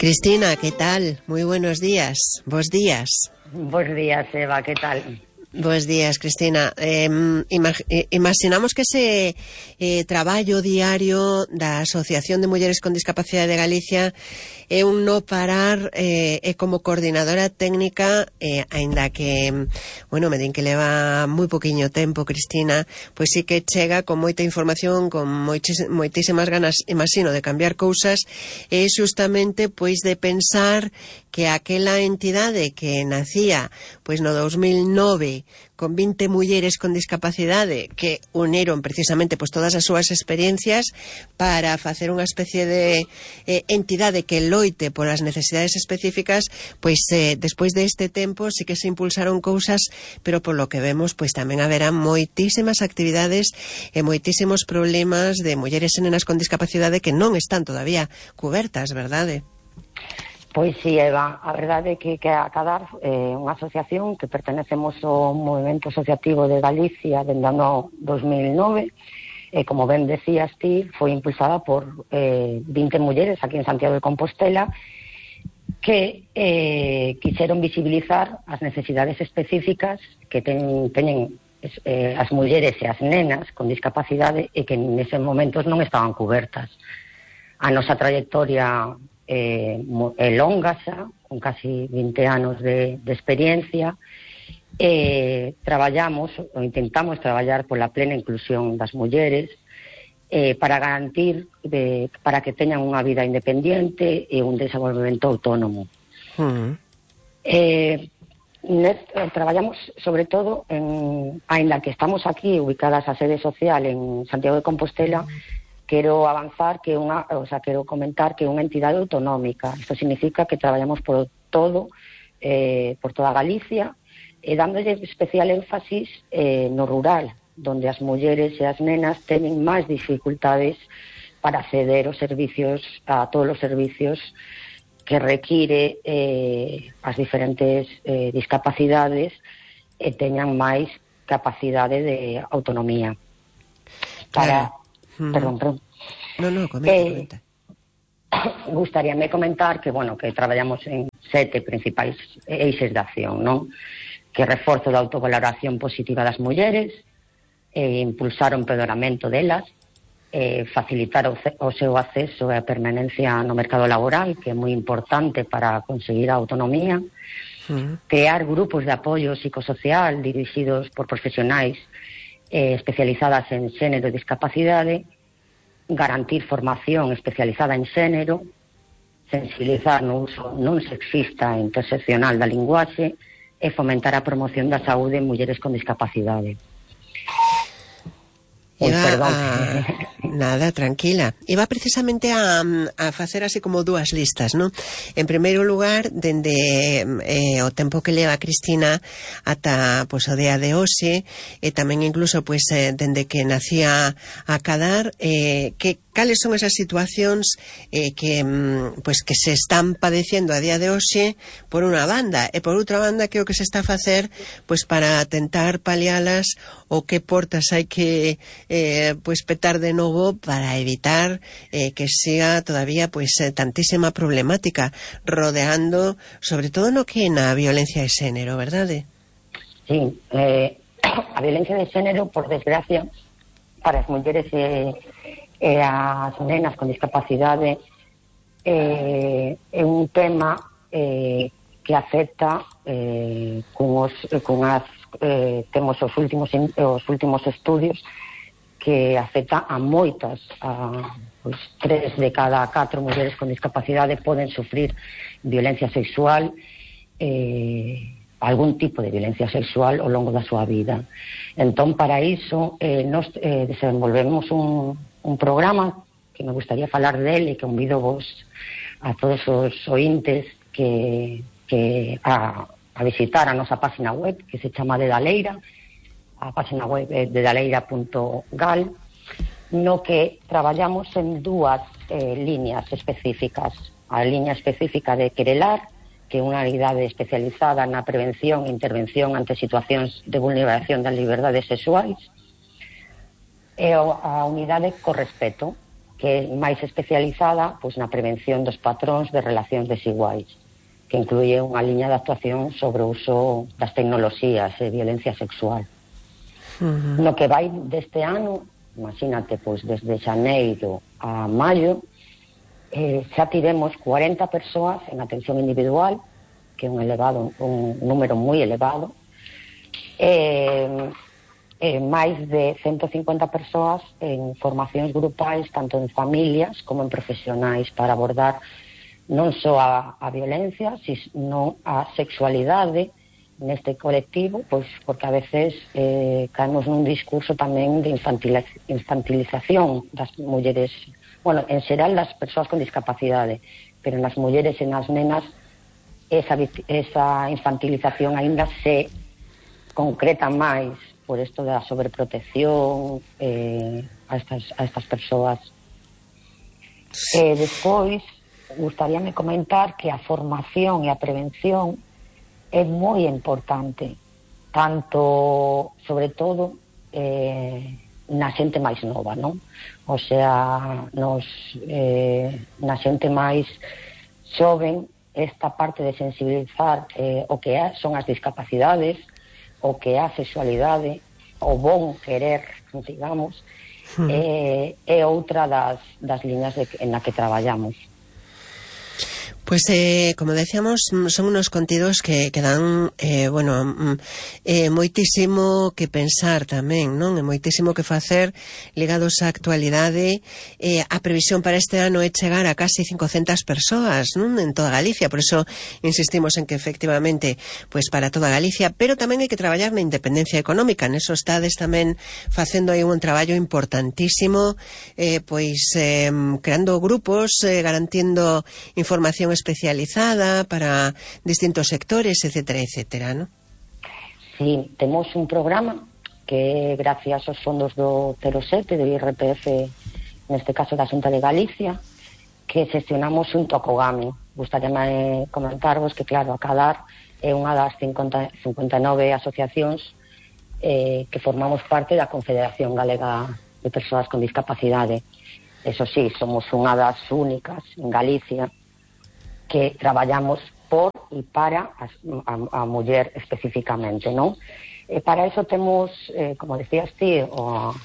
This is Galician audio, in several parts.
Cristina, ¿qué tal? Muy buenos días. Bos días. Bos días, Eva, ¿qué tal? Bos días, Cristina. Imaginamos que ese traballo diario da Asociación de Mulleres con Discapacidade de Galicia é un no parar como coordinadora técnica, aínda que, bueno, me din que leva moi poquinho tempo, Cristina, pois sí que chega con moita información, con moitísimas ganas, imagino, de cambiar cousas, e justamente, pois, de pensar que aquela entidade que nacía, pois, no 2009, con 20 mulleres con discapacidade que unieron precisamente pois todas as súas experiencias para facer unha especie de entidade que loite polas necesidades específicas, pois despois deste tempo sí que se impulsaron cousas, pero polo que vemos pois tamén haberá moitísimas actividades e moitísimos problemas de mulleres e nenas con discapacidade que non están todavía cubertas, verdade? Pois sí, Eva, a verdade é que a CADAR é unha asociación que pertenecemos ao Movimento Asociativo de Galicia dende o ano 2009 e, como ben decías ti, foi impulsada por 20 mulleres aquí en Santiago de Compostela que quixeron visibilizar as necesidades específicas que teñen as mulleres e as nenas con discapacidade e que neses momentos non estaban cubertas. A nosa trayectoria é longa xa, con casi 20 anos de experiencia, traballamos, ou intentamos traballar pola plena inclusión das mulleres, para garantir para que teñan unha vida independiente e un desenvolvemento autónomo. Traballamos sobre todo aínda que estamos aquí ubicadas a sede social en Santiago de Compostela, quero comentar que é unha entidade autonómica. Isto significa que traballamos por toda Galicia, e dándolle especial énfasis no rural, donde as mulleres e as nenas teñen máis dificultades para acceder a todos os servicios que require as diferentes discapacidades e teñan máis capacidade de autonomía. Perdón. No, comenta. Gustaríame comentar que, que traballamos en 7 principais eixes de acción, non? Que reforzo da autovaloración positiva das mulleres, impulsar o empoderamento delas, facilitar o seu acceso e a permanencia no mercado laboral, que é moi importante para conseguir a autonomía, crear grupos de apoio psicosocial dirixidos por profesionais especializadas en xénero e discapacidade, garantir formación especializada en xénero, sensibilizar no uso non sexista e interseccional da linguaxe e fomentar a promoción da saúde en mulleres con discapacidade. Nada, tranquila. Iba precisamente a facer así como dúas listas, non? En primeiro lugar, dende o tempo que leva Cristina ata o día de hoxe, e tamén incluso dende que nacía a CADAR, cales son esas situacións que se están padeciendo a día de hoxe por unha banda, e por outra banda que o que se está a facer para tentar palialas, ou que portas hai que petar de novo para evitar que sea todavía tantísima problemática rodeando, sobre todo no que na violencia de xénero, verdade? Sí, a violencia de xénero, por desgracia, para as mulleres e as nenas con discapacidade é un tema que afecta temos os últimos estudios que afecta a moitas, 3 de cada 4 mulleres con discapacidade poden sufrir violencia sexual, algún tipo de violencia sexual ao longo da súa vida. Entón, para iso, nos desenvolvemos un programa que me gustaría falar dele, que convido vos a todos os ointes a visitar a nosa página web, que se chama de Daleira. A página web é dedaleira.gal, no que traballamos en 2 líneas específicas. A liña específica de Querelar, que é unha unidade especializada na prevención e intervención ante situacións de vulneración das liberdades sexuais, e a unidade Correspeto, que é máis especializada pois na prevención dos patróns de relacións desiguais, que incluye unha liña de actuación sobre o uso das tecnoloxías e violencia sexual. No que vai deste ano, imagínate, pois desde xaneiro a maio, xa tivemos 40 persoas en atención individual, que é un número moi elevado, máis de 150 persoas en formacións grupais, tanto en familias como en profesionais, para abordar non só a violencia, sino a sexualidade neste colectivo, pois porque a veces caemos nun discurso tamén de infantilización das mulleres, bueno, en xeral das persoas con discapacidade, pero nas mulleres e nas nenas esa infantilización aínda se concreta máis por isto da sobreprotección a estas persoas. Despois gustaríame comentar que a formación e a prevención é moi importante, tanto, sobre todo, na xente máis nova, non? O sea, na xente máis xoven, esta parte de sensibilizar o que son as discapacidades, o que é a sexualidade, o bon querer, digamos, é outra das liñas en na que traballamos. Pues como decíamos, son unos contidos que dan moitísimo que pensar tamén, non? E moitísimo que facer ligados á actualidade. A previsión para este ano é chegar a casi 500 persoas, non? En toda Galicia, por eso insistimos en que efectivamente, pues para toda Galicia, pero tamén hai que traballar na independencia económica. Neso estades tamén facendo aí un traballo importantísimo, creando grupos, garantindo información especializada para distintos sectores, etcétera, etcétera, ¿no? Sí, temos un programa que gracias aos fondos do 07 do IRPF, neste caso da Xunta de Galicia, que xestionamos xunto a Cogami. Gustaríame comentarvos que, claro, a Cadar é unha das 59 asociacións que formamos parte da Confederación Galega de Persoas con Discapacidade. Eso sí, somos unha das únicas en Galicia que traballamos por e para a muller especificamente, non? E para eso temos, como decías ti, a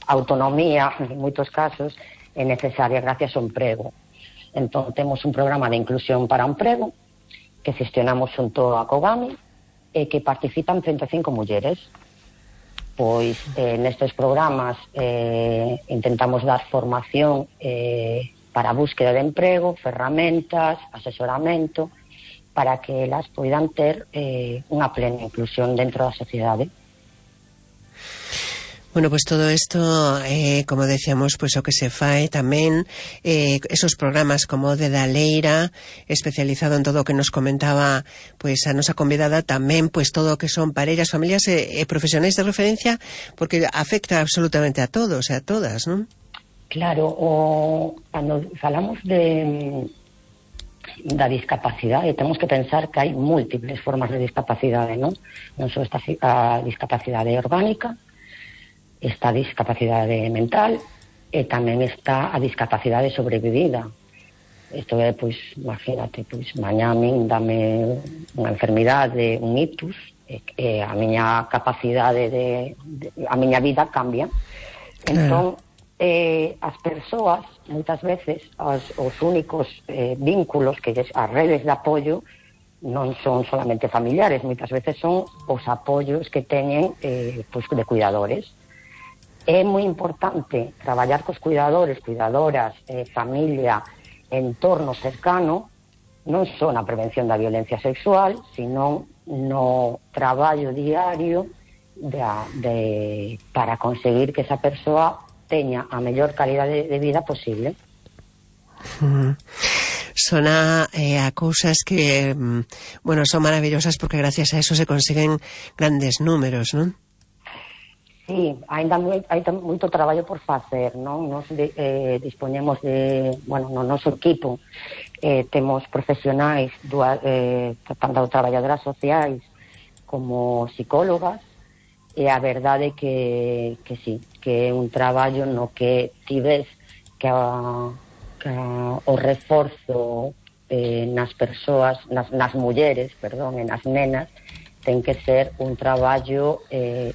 autonomía, en moitos casos, é necesaria gracias ao emprego. Entón, temos un programa de inclusión para o emprego que gestionamos xunto a Cogami e que participan 35 mulleres. Pois nestes programas intentamos dar formación para a búsqueda de emprego, ferramentas, asesoramento, para que elas poidan ter unha plena inclusión dentro da sociedade. Bueno, pues todo esto, como decíamos, pues o que se fai tamén, esos programas como de Daleira, especializado en todo o que nos comentaba pues a nosa convidada, tamén pues todo o que son parellas, familias e profesionais de referencia, porque afecta absolutamente a todos e a todas, non? Claro, cando falamos da discapacidade, temos que pensar que hai múltiples formas de discapacidade, non? Non só esta a discapacidade orgánica, esta discapacidade mental, e tamén está a discapacidade sobrevivida. Isto é, pois, imagínate, pois, mañá a min dame unha enfermidade, un ictus, e a miña capacidade a miña vida cambia. Entón, as persoas, moitas veces, os únicos vínculos, que as redes de apoio, non son solamente familiares, moitas veces son os apoios que teñen pois, de cuidadores. É moi importante traballar cos cuidadores, cuidadoras, familia, entorno cercano, non só na prevención da violencia sexual, sino no traballo diario para conseguir que esa persoa teña a mellor calidade de vida posible. Son a cousas que, bueno, son maravillosas porque gracias a eso se consiguen grandes números, non? Sí, ainda hai moito traballo por facer, non? Nos dispoñemos de, bueno, no noso equipo temos profesionais, tanto traballadoras sociais como psicólogas, E a verdade que sí, que é un traballo no que ti ves que o reforzo nas persoas, nas mulleres, perdón, e nas nenas, ten que ser un traballo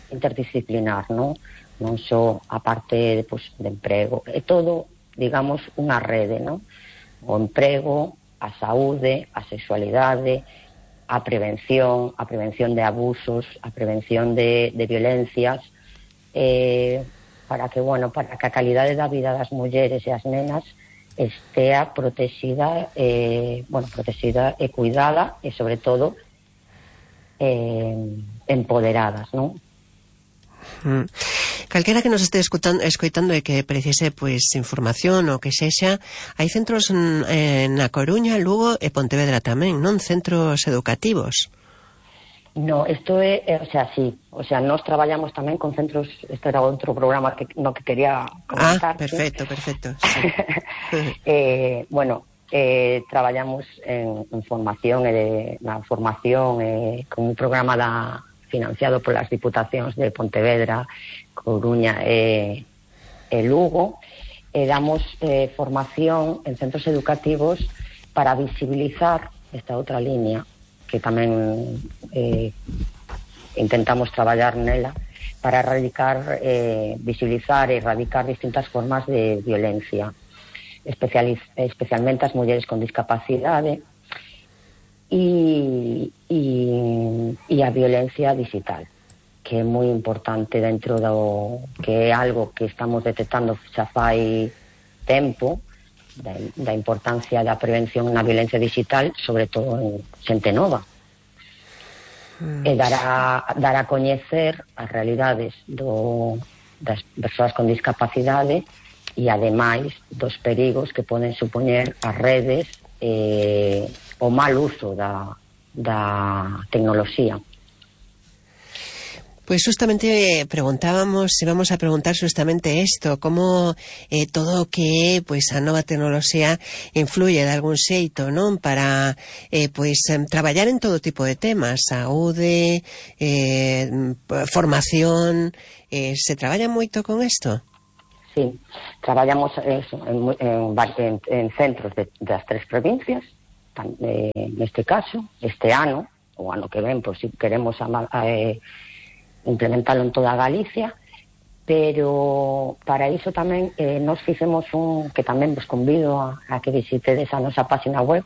interdisciplinar, non só a parte de emprego, é todo, digamos, unha rede, non? O emprego, a saúde, a sexualidade, a prevención de abusos, a prevención de violencias, para que a calidade da vida das mulleres e as nenas estea protexida e cuidada e, sobre todo, empoderadas, non? Calquera que nos este escoitando e que precise información ou que sexa, hai centros na Coruña, Lugo e Pontevedra tamén, non? Centros educativos. No, isto é, sí, nós traballamos tamén con centros, este era outro programa que quería comentar. Perfecto, sí. Traballamos en formación con un programa financiado polas diputacións de Pontevedra, Coruña e Lugo, e damos formación en centros educativos para visibilizar esta outra línea que tamén intentamos traballar nela para visibilizar e erradicar distintas formas de violencia, especialmente as mulleres con discapacidade e a violencia digital, que é moi importante dentro que é algo que estamos detectando xa fai tempo, da importancia da prevención na violencia digital, sobre todo en xente nova, e dar a coñecer as realidades das persoas con discapacidade e, ademais, dos perigos que poden supoñer as redes e o mal uso da tecnoloxía. Pues justamente íbamos a preguntar justamente esto, como todo o que a nova tecnoloxía influye de algún xeito, non? Para traballar en todo tipo de temas, saúde, formación, se traballa moito con isto? Sí, traballamos en centros das 3 provincias, neste caso, este ano, o ano que ven, por si queremos implementalo en toda Galicia, pero para iso tamén nos fixemos que tamén vos convido a que visitedes a nosa página web,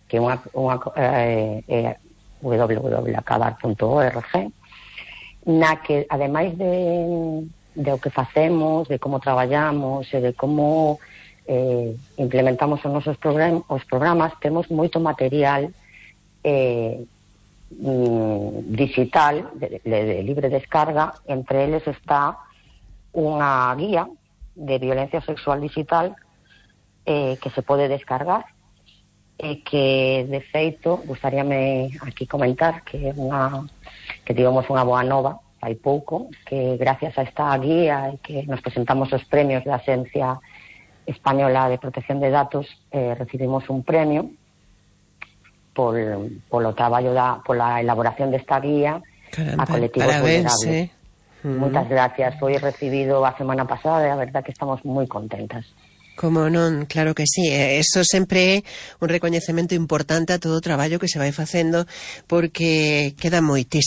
que é www.acadar.org, na que, ademais de o que facemos, de como traballamos e de como implementamos os nosos programas, temos moito material digital de libre descarga. Entre eles está unha guía de violencia sexual digital que se pode descargar e que, de feito, gustaríame aquí comentar que tivemos unha boa nova hai pouco, que gracias a esta guía e que nos presentamos os premios da Axencia Española de Protección de Datos, recibimos un premio polo traballo pola elaboración desta guía. Caramba, a colectivos vulnerables. Moitas gracias, foi recibido a semana pasada e a verdad que estamos moi contentas. Como non, claro que sí. Eso sempre é un recoñecemento importante a todo o traballo que se vai facendo, porque queda moitísimo